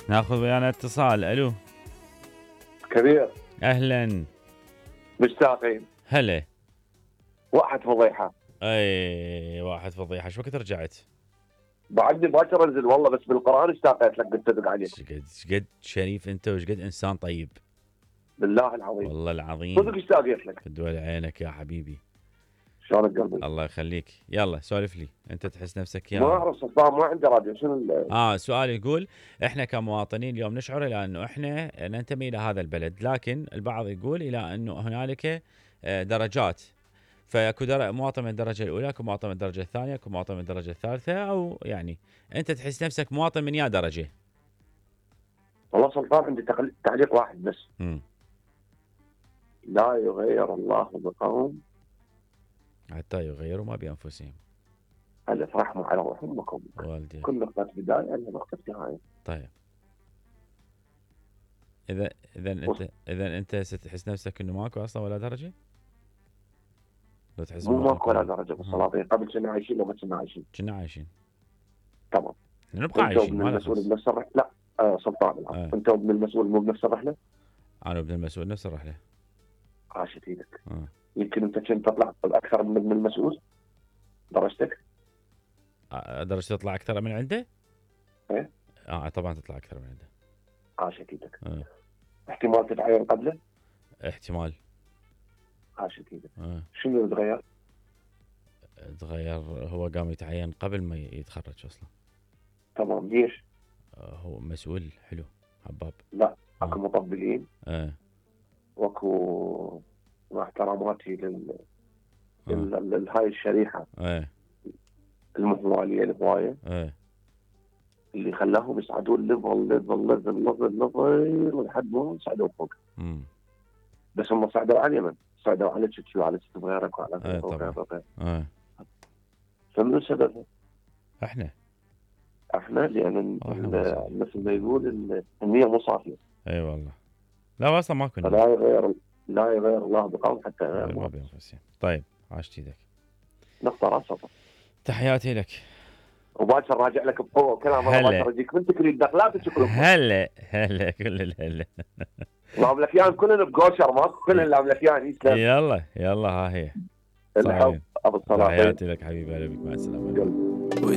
ناخذ ويانا اتصال. الو كبير. اهلا. مشتاقين. هلا. واحد فضيحه. اي واحد فضيحه. شو وقت رجعت؟ بعدني باكر انزل والله، بس بالقران اشتاقت لك قلت ادق عليك. شقد شريف انت وشقد انسان طيب. بالله العظيم. والله العظيم. صدق اشتاقت لك. الدول عينك يا حبيبي. شلونك قلبي؟ الله يخليك. يلا سولف لي. انت تحس نفسك يا ما اعرف سلطان، ما عندي راديو. شنو سؤال يقول احنا كمواطنين اليوم نشعر الى انه احنا ننتمي الى هذا البلد، لكن البعض يقول الى انه هنالك درجات، فاكو مواطن من الدرجه الاولى، اكو مواطن من الدرجه الثانيه، اكو مواطن من الدرجه الثالثه، او يعني انت تحس نفسك مواطن من يا درجه؟ والله سلطان عندي تعليق واحد بس. لا يغير الله بقوم حتى يغيروا ما بانفسهم. الف رحمه على امكم. والدي. كل نقطه بدايه لها نقطه نهايه. طيب اذا انت ستحس نفسك انه ماكو اصلا ولا درجه؟ لو تحس مو ماكو ولا درجه بالسلاطين. قبل كنا عايشين وما كنا عايشين. كنا عايشين. تمام. نبقى عايشين. ما المسؤول بنفس الرحله؟ لا سلطان انت وابن المسؤول مو بنفس الرحله؟ انا وابن المسؤول نفس الرحله. عاشت ايدك. يمكن انت كنت تطلع اكثر من ابن المسؤول درجتك. درجتي تطلع اكثر من عنده؟ ايه طبعا تطلع اكثر من عنده. عاشت ايدك. احتمال تتعين قبله؟ احتمال. عاشت ايدك. شنو اللي تغير؟ تغير هو قام يتعين قبل ما يتخرج اصلا. تمام. ليش؟ هو مسؤول حلو حباب. لا اكو مطبلين. واكو مع احتراماتي هاي الشريحه المحواليه الهوايه اللي خلاهم يصعدون ليفل لحد ما صعدوا فوق. بس هم صعدوا على اليمن، صعدوا على تشيكي وعلى غيرك وعلى غيرك. فمن سببها؟ احنا لان مثل ما يقول النية مو صافيه. اي والله. لا اصلا ما كنا. لا يغير الله بقوم حتى يغير ما بانفسهم. طيب عاشت ايدك. نقطه راسها. تحياتي لك. وباكر راجع لك بقوه وكلام. باكر اجيك من تكريم دخلات تشكرك. هلا كل الهلا. الاملكيان كلنا بقوشر، ماكو كلنا الاملكيان يسلم. يلا ها هي. الحب ابو الصلاحين. تحياتي لك حبيبي. هلا بك. مع السلامه.